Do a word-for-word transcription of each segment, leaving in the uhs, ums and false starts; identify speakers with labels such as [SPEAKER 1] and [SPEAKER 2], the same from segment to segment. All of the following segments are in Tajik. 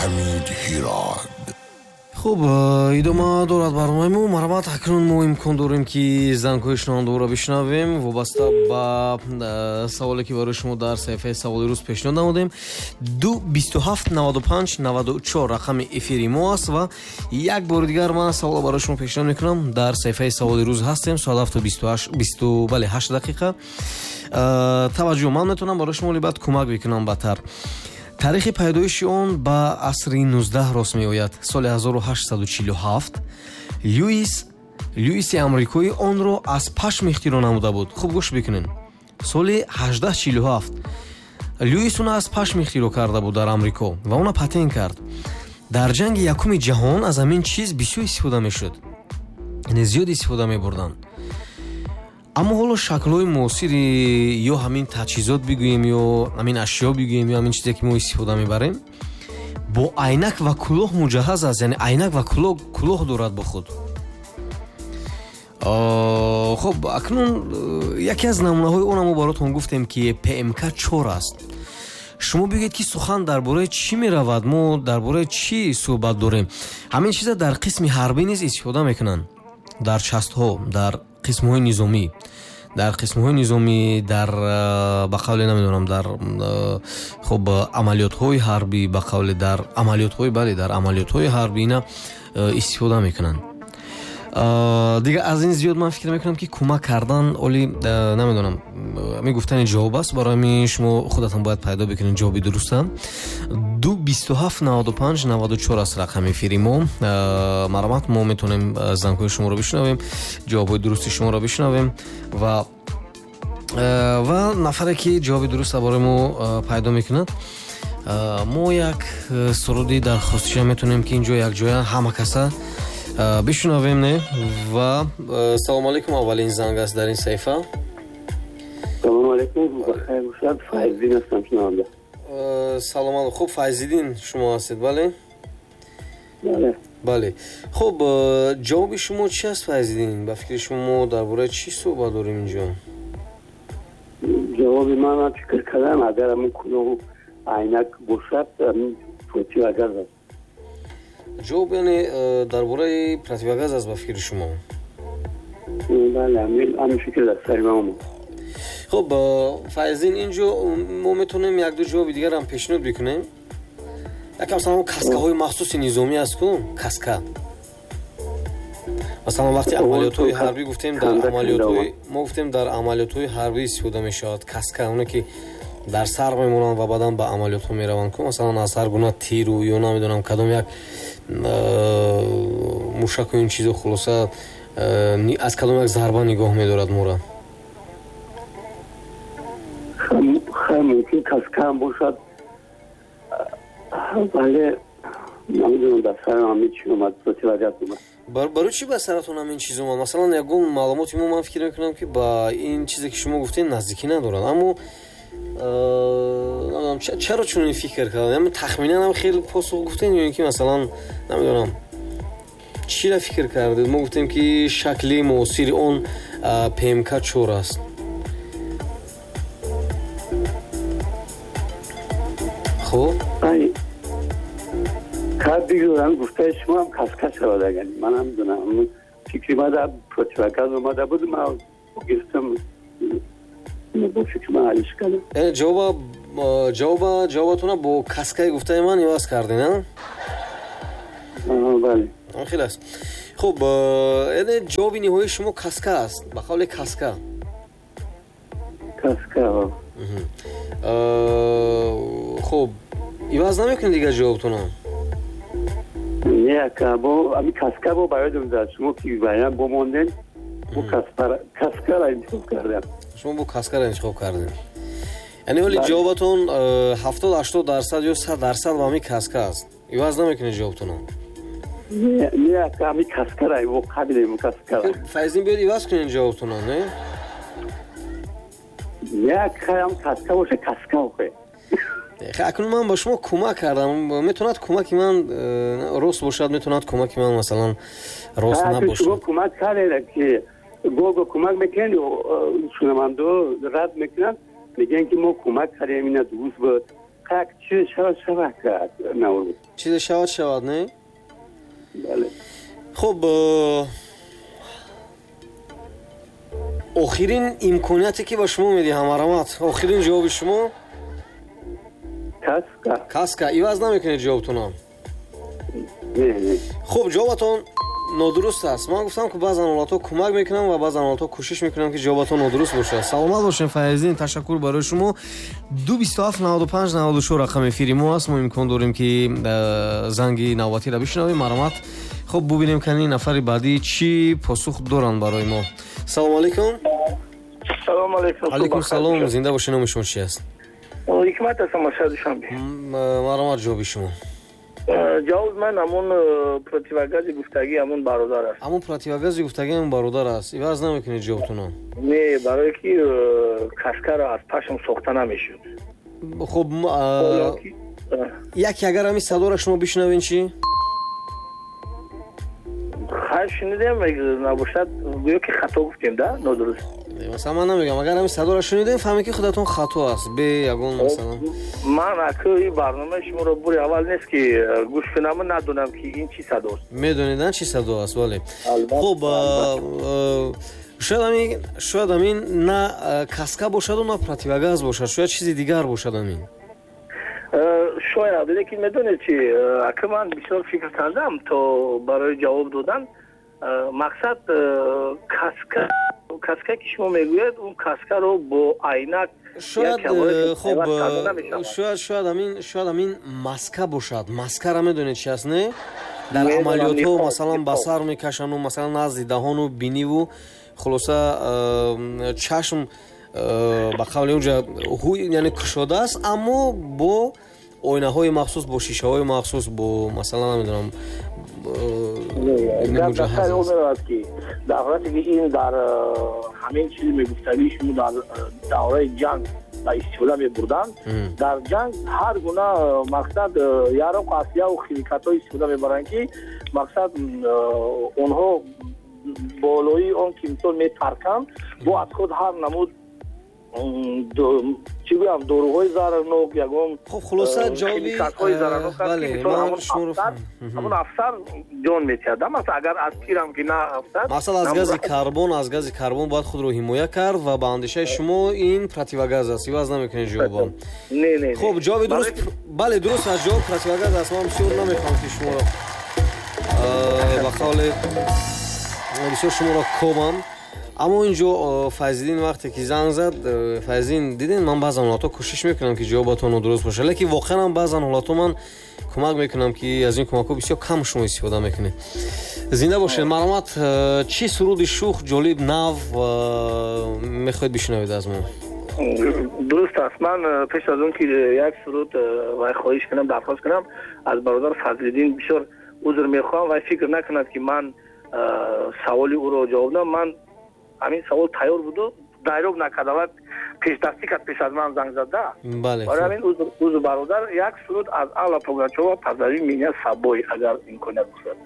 [SPEAKER 1] Ҳамид Ҳирод.
[SPEAKER 2] Хуб, идома дорад барномаи мо. Марҳамат, акнун мо имкон дорем, ки зангҳои шунавандаро бишнавем вобаста ба саволе, ки барои шумо дар саҳифаи саволи рӯз пешниҳод намудем. Ду бисту ҳафт наваду панҷ наваду чор рақами эфири мо аст ва як бори дигар ман саволро барои шумо пешниҳод мекунам. Дар саҳифаи саволи рӯз ҳастем, соат ҳафту бисту ҳашт, бисту бале ҳашт дақиқа. Таваҷҷӯҳ, ман метавонам барои шумо либад кӯмак бикунам батар. Таърихи пайдоиши он ба асри нуздаҳ рост меояд. Соли ҳазору ҳаштсаду чилу ҳафт Льюис Льюиси амрикоӣ онро аз пашм ихтироъ намуда буд. Хуб гӯш бикунед. Соли ҳаждаҳ чилу ҳафт Льюис онро аз пашм ихтироъ карда буд дар Амрико ва онро патент кард. Дар ҷанги якуми ҷаҳон аз ҳамин чиз бисёр истифода мешуд, яъне зиёд истифода мебурданд. Аммо ҳоло шаклҳои муосири ё ҳамин таҷҳизот бигӯем, ё ҳамин ашё бигӯем, ё ҳамин чизе, ки мо истифода мебарем, бо айнак ва кулоҳ муҷаҳҳаз аст. Яъне айнак ва кулоҳ дорад бо худ. Хуб, акнун яке аз намунаҳои он мо баротон гуфтем, ки П М К чор аст. Шумо бигӯед, ки сухан дар бораи чӣ меравад, мо дар бораи чӣ суҳбат дорем. Ҳамин чиза дар қисми ҳарбӣ низ истифода мекунанд, дар частҳо, дар қисмҳои низомӣ, дар қисмҳои низомӣ, дар ба қавле намедонам, дар хуб амалиётҳои ҳарбӣ, ба қавле дар амалиётҳои, бале, дар амалиётҳои ҳарбӣ ина истифода мекунанд. Дигар аз ин зиёд ман фикр мекунам, ки кӯмак кардан оли намедонам, мегуфтани ҷавоб аст. Барои ҳамин шумо худатон бояд пайдо бикунед ҷавоби дуруста. Ду бисту ҳафт наваду панҷ наваду чор аст рақами эфири мо. Марҳамат, мо метавонем зангҳои шуморо бишнавем, ҷавобҳои дурусти шуморо бишнавем ва ва нафаре, ки ҷавоби дуруста барои мо пайдо мекунад, мо як суруди дархостиша метавонем, ки инҷо якҷоя ҳама каса бишунавем, не? Ва салому алайкум, аввалин занг аст дар ин саҳифа.
[SPEAKER 3] Салому алайкум, бахайр бошад, Файзиддин ҳастам шунаванда.
[SPEAKER 2] Салом алайкум. Хуб, Файзиддин шумо ҳастед, бале?
[SPEAKER 3] Бале.
[SPEAKER 2] Бале. Хуб, ҷавоби шумо чи аст, Файзиддин? Ба фикри шумо мо дар бораи чӣ суҳбат дорем инҷо?
[SPEAKER 3] Ҷавоби ман, ман фикр кардам, агар ҳамин кулоҳу айнак бошад, противогаз аст.
[SPEAKER 2] Ҷавоб яъне дар бораи противогаз аст ба фикри шумо?
[SPEAKER 3] Бале, ҳамин фикр дар сари ман омад.
[SPEAKER 2] Хуб, Файзин, инҷо мо метавонем як-ду ҷавоби дигарам пешниҳод бикунем. Якам масалан каскаҳои махсуси низомӣ аст ку, каска. Масалан вақти амалиётҳои ҳарбӣ гуфтем, дар амалиётҳои мо гуфтем, дар амалиётҳои ҳарбӣ истифода мешавад каска, оне ки дар сар мемонанд ва баъдан ба амалиётҳо мераванд ку, масалан аз ҳар гуна тиру ё намедонам кадом як мушаку ин чизо, хулоса аз кадом як зарба нигоҳ медорад моро.
[SPEAKER 3] Хай, мумкин каскаам бошад, вале намедонам, дар сарам ҳамин чи омад, противогаз омад.
[SPEAKER 2] Барои чӣ ба саратон ҳамин чиз омад? Масалан ягон маълумоти мо, ман фикр мекунам, ки ба ин чизе, ки шумо гуфтед, наздикӣ надорад, аммо намедонам чаро чунин фикр кардам. Тахминан ҳам хеле посух гуфтед ё ин ки масалан намедонам чиро фикр кардед? Мо гуфтем, ки шакли муосири он П М К чор аст. Хуб,
[SPEAKER 3] бигӯям, гуфтаи шумо ҳам каска шавад, агар ман намедонам, фикри ман дар противогаз омада буд, ман гирифтам, бо фикри ман ҳалиш кардам.
[SPEAKER 2] Яъне ҷавоба ҷавоба ҷавобатона бо каскаи гуфтаи ман иваз кардед, а?
[SPEAKER 3] Бале.
[SPEAKER 2] Хеле аст. Хуб, яъне ҷавоби ниҳоии шумо каска аст, ба қавли каска.
[SPEAKER 3] Каска.
[SPEAKER 2] Хуб, иваз намекунед дигар ҷавобтона?
[SPEAKER 3] Не, ака, бо ами каска бо ба ёдам зад, шумо ки вариант бомондем, бо каскара интихоб кардам.
[SPEAKER 2] Шумо бо каскара интихоб кардем. Яъне ҳоли ҷавобатон ҳафтод ҳаштод дарсад ё сад дарсад ба ҳамин каска аст. Иваз намекунед ҷавобтонро?
[SPEAKER 3] Не, не, ака, ҳамин каскара, бо қабилем каскара.
[SPEAKER 2] Файзин, биёд иваз кунед ҷавобтонро, не?
[SPEAKER 3] Не, ака, ҳам каска боша, каска охе.
[SPEAKER 2] Акнун ман ба шумо кӯмак кардам. Метавонад кӯмаки ман рост бошад, метавонад кӯмаки ман масалан рост набошад.
[SPEAKER 3] Шумо кӯмак кардед, ки гого кӯмак мекунед, шунавандо рад мекунанд, мегӯянд, ки мо кӯмак кардем, ина дуруст буд. Как чизе шавад, шавад, Наврӯз.
[SPEAKER 2] Чизе шавад, шавад, не?
[SPEAKER 3] Бале.
[SPEAKER 2] Хуб, охирин имконияте ки ба шумо медиҳам, марҳамат, охирин ҷавоби шумо?
[SPEAKER 3] Каска.
[SPEAKER 2] Каска. Иваз намекунед ҷавобтонам?
[SPEAKER 3] Не, не.
[SPEAKER 2] Хуб, ҷавобатон нодуруст аст. Ман гуфтам, ки баъзан ҳолатҳо кӯмак мекунам ва баъзан ҳолатҳо кӯшиш мекунам, ки ҷавобатон нодуруст бошад. Саломат бошем, Файзиддин, ташаккур барои шумо. Ду бисту ҳафт наваду панҷ наваду чор рақами эфири мо аст. Мо имкон дорем, ки занги навбатиро бишнавем. Марҳамат. Хуб, бубинем, ки ин нафари баъдӣ чӣ посух доранд барои мо. Салому алайкум.
[SPEAKER 1] Салому алайкум.
[SPEAKER 2] Алайкум салом. Зинда бошед, номи шумо чӣ аст?
[SPEAKER 1] Ҳикмат ҳастам аз шаҳри Душанбе.
[SPEAKER 2] Марҳамат, ҷавоби шумо.
[SPEAKER 1] Ҷавоби ман ҳамон противогази гуфтагӣ ҳамон бародар аст.
[SPEAKER 2] Ҳамон противогази гуфтагӣ ҳамон бародар аст. Иваз намекунед ҷавобтонро?
[SPEAKER 1] Не, барое ки каскаро аз пашм сохта намешуд.
[SPEAKER 2] Хуб, яке агар ҳамин садоро шумо бишнавед чӣ?
[SPEAKER 1] Хайр, шунидем, набошад гӯё ки хато гуфтем, да? Нодуруст.
[SPEAKER 2] Масалан, ман намегам, агар ҳамин садоро шунидем, фаҳмед, ки худатон хато аст. Бе ягон масалан.
[SPEAKER 1] Ман аку ин барномаи шуморо бури аввал нест, ки гӯш кунам, надонам, ки ин чӣ садост.
[SPEAKER 2] Медонед, чӣ садо аст, бале. Хуб, шояд ҳамин, шояд ҳамин на каска бошаду на противогаз бошад, шояд чизи дигар бошад ҳамин.
[SPEAKER 1] Шояд, лекин медонед чи, ака, ман бисёр фикр кардам то барои ҷавоб додан. Мақсад каска, каска ки шумо мегӯяд, он каскаро бо айнак
[SPEAKER 2] шояд, хуб, шояд, шояд ҳамин, шояд ҳамин маска бошад. Маскара медонед чи аст, не? Дар амалиётҳо масалан ба сар мекашанду, масалан назди даҳону биниву, хулоса чашм ба қавли онҷа яъне кушода аст, аммо бо оинаҳои махсус, бо шишаҳои махсус, бо масалан намедонам.
[SPEAKER 1] Гап дар сари он меравад, ки дар ҳолате ки ин дар ҳамин чизе мегуфтагии шумо дар давраи ҷанг ба истифода мебурданд, дар ҷанг ҳар гуна мақсад яроқ, аслияву химикатҳо истифода мебаранд, ки мақсад онҳо болои он ки мисол метарканд, бо аз худ ҳар намуд, чӣ гӯям, доруҳои зарарнок, ягон
[SPEAKER 2] хуб, хулоса ҷавоби
[SPEAKER 1] химикатҳои зарарнок аст, ки мисол ҳамон афсар ҷон метиҳад. Масалан, агар аз тирам ки на афсар,
[SPEAKER 2] масалан аз гази карбон, аз гази карбон бояд худро ҳимоя кард ва ба андешаи шумо ин противогаз аст. Иваз намекунед ҷавобам?
[SPEAKER 1] Не, не.
[SPEAKER 2] Хуб, ҷавоби дуруст, бале, дуруст аст, ҷавоб противогаз аст. Ман бисёр намехоҳам, ки шуморо ба қавле бисёр шуморо кобам, аммо инҷо Файзиддин вақте ки занг зад, Файзиддин, диден, ман баъзан ҳолатҳо кӯшиш мекунам, ки ҷавобатон нодуруст бошад, лекин воқеан ҳам баъзан ҳолатҳо ман кӯмак мекунам, ки аз ин кӯмакҳо бисёр кам шумо истифода мекунед. Зинда бошед. Марҳамат, чӣ суруди шух, ҷолиб, нав мехоҳед бишнавед аз мо?
[SPEAKER 1] Дуруст аст. Ман пеш аз он ки як суруд вай хоҳиш кунам, дархост кунам аз бародар Фазлиддин, бисёр узр мехоҳам, вай фикр накунад, ки ман саволи ӯро ҷавоб дам. Ман ҳамин савол тайёр буду дайроб накарда ва пешдастӣ кард, пеш аз ман занг зада. Барои ҳамин узр, бародар. Як суруд аз Алла Пугачёва «Позови меня с собой», агар имконият бошад.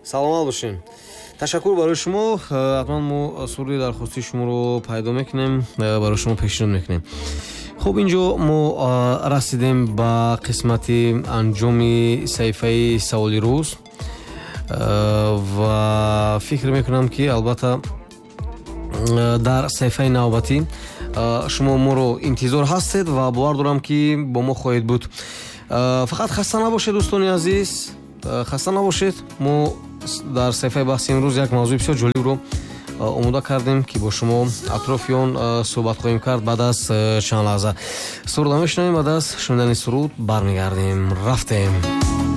[SPEAKER 2] Саломат бошем. Ташаккур барои шумо. Ҳатман мо суруди дархостии шуморо пайдо мекунем, барои шумо пешниҳод мекунем. Хуб, инҷо мо расидем ба қисмати анҷоми саҳифаи саволи рӯз ва фикр мекунам, ки албатта дар саҳифаи навбатӣ шумо моро интизор ҳастед ва бовар дорам, ки бо мо хоҳед буд. Фақат хаста набошед, дӯстони азиз, хаста набошед. Мо дар саҳифаи баҳси имрӯз як мавзӯи бисёр ҷолибро омода кардем, ки бо шумо атрофи он суҳбат хоҳем кард баъд аз чанд лаҳза. Суруда мешунавем, баъд аз шунидани суруд бармегардем. Рафтем.